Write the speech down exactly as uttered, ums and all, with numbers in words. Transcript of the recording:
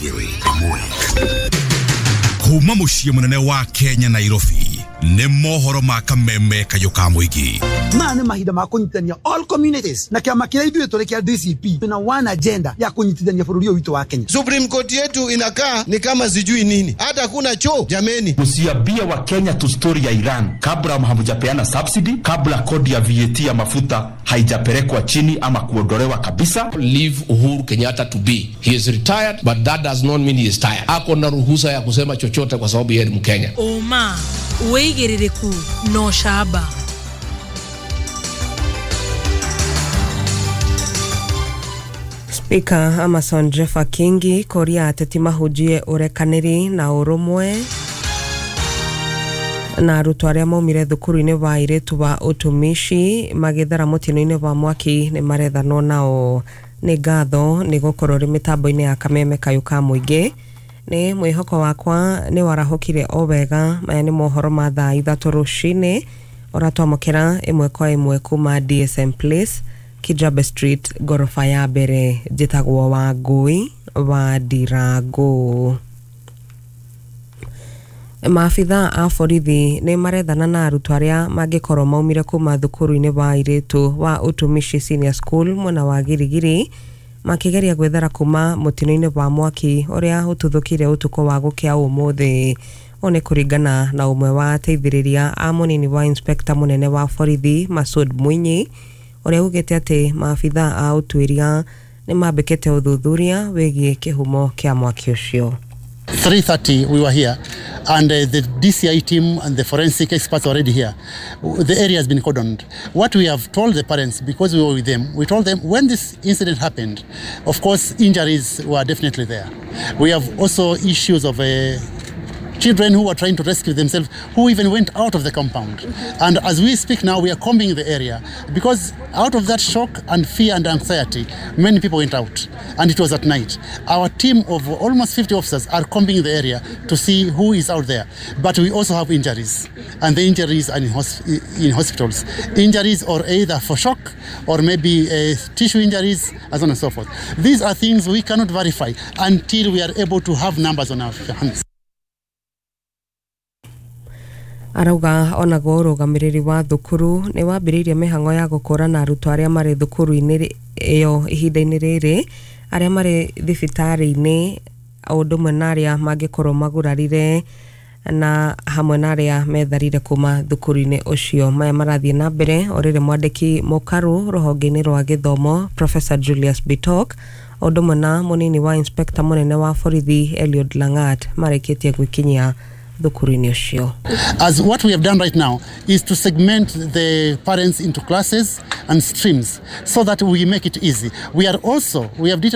Igĩrĩ ĩmwe. Kuma mũciĩ mũnene wa Kenya Nairobi nĩ mohoro ma kameme kayũ ka mũingĩ. Maya nĩ mahinda ma kũnyitithania all communities na kĩama kĩrĩa ithuĩ tũrĩ kĩa D C P twĩna one agenda ya kũnyitithania bũrũri ũyũ witũ wa Kenya. Supreme Court yetu inakaa ni kama sijui nini, hata kuna choo jameni. Msiambie wa Kenya tu story ya Iran kabla hamjapeana subsidy, kabla kodi ya V A T ya mafuta haijapelekwa chini ama kuondolewa kabisa. Leave Uhuru Kenyatta to be. He is retired, but that does not mean he is tired. Ako na ruhusa ya kusema chochote kwa sababu yeye ni Mkenya. Ũma, wĩigĩrĩrĩku na ũcamba. Spika Amason Jeffa Kingi kũria ateti mahunjie ũrekanĩri na ũrũmwe. Na arutwo arĩa maumire thukuru-inĩ wa airĩtu wa ũtumishi magĩthara mũtino-inĩ wa mwaki nĩ marethanwo nao. Nĩ ngatho nĩ gũkorwo rĩ mĩtambo-inĩ ya kameme kayũ ka mũingĩ. Nĩ mwĩhoko wakwa nĩ warahũkire o wega. Maya nĩ mohoro ma thaa ithatũ rũcinĩ ũratwamũkĩra ĩmwe kwa ĩmwe kuma D S M Place, Kijabe Street, ngoroba ya mbere. Njĩtagwo Wangũi wa Ndirangũ. Maabitha a borithi nĩ marethana na arutwo arĩa mangĩkorwo maumire kuma thukuru-inĩ wa airĩtu wa Utumishi Senior School mwena wa Girigiri makĩgeria gwĩthara kuma mũtino-inĩ wa mwaki ũrĩa ũtuthũkire ũtukũ wa gũkĩa ũmũthĩ. Ũũ nĩ kũringana na ũmwe wa ateithĩrĩria a mũnini wa inspector mũnene wa borithi Masud Mwinyi, ũrĩa ugĩte atĩ maabitha a ũtuĩria nĩ mambĩkĩte ũthuthuria wĩgiĩ kĩhumo kĩa mwaki ũcio. three thirty we were here and uh, the D C I team and the forensic experts already here. The area has been cordoned. What we have told the parents, because we were with them, we told them when this incident happened, of course injuries were definitely there. We have also issues of uh, children who were trying to rescue themselves, who even went out of the compound. And as we speak now, we are combing the area because out of that shock and fear and anxiety, many people went out, and it was at night. Our team of almost fifty officers are combing the area to see who is out there. But we also have injuries, and the injuries are in, hosp- in hospitals. Injuries or either for shock or maybe uh, tissue injuries, and so on and so forth. These are things we cannot verify until we are able to have numbers on our hands. Arauga onaguo ũrũgamĩrĩri wa thukuru nĩ wambĩrĩirie mĩhang'o ya gũkũrana arutwo arĩa marĩ thukuru-inĩ ĩyo ihinda-inĩ rĩrĩ, arĩa marĩ thibitarĩ-inĩ, o ũndũ ũmwe na arĩa mangĩkorwo magurarire na hamwe na arĩa metharire kuma thukuru-inĩ ũcio. Maya marathiĩ na mbere o rĩrĩ mwandĩki mũkaru rũhonge-inĩ rwa gĩthomo Professor Julius Bitok o ũndũ ũmwe na mũnini wa inspector mũnene wa borithi Eliud Langat marĩkĩtie gwĩkinyia thukuru-inĩ ũcio. As what we have done right now is to segment the parents into classes and streams so that we make it easy. We are also, we have detailed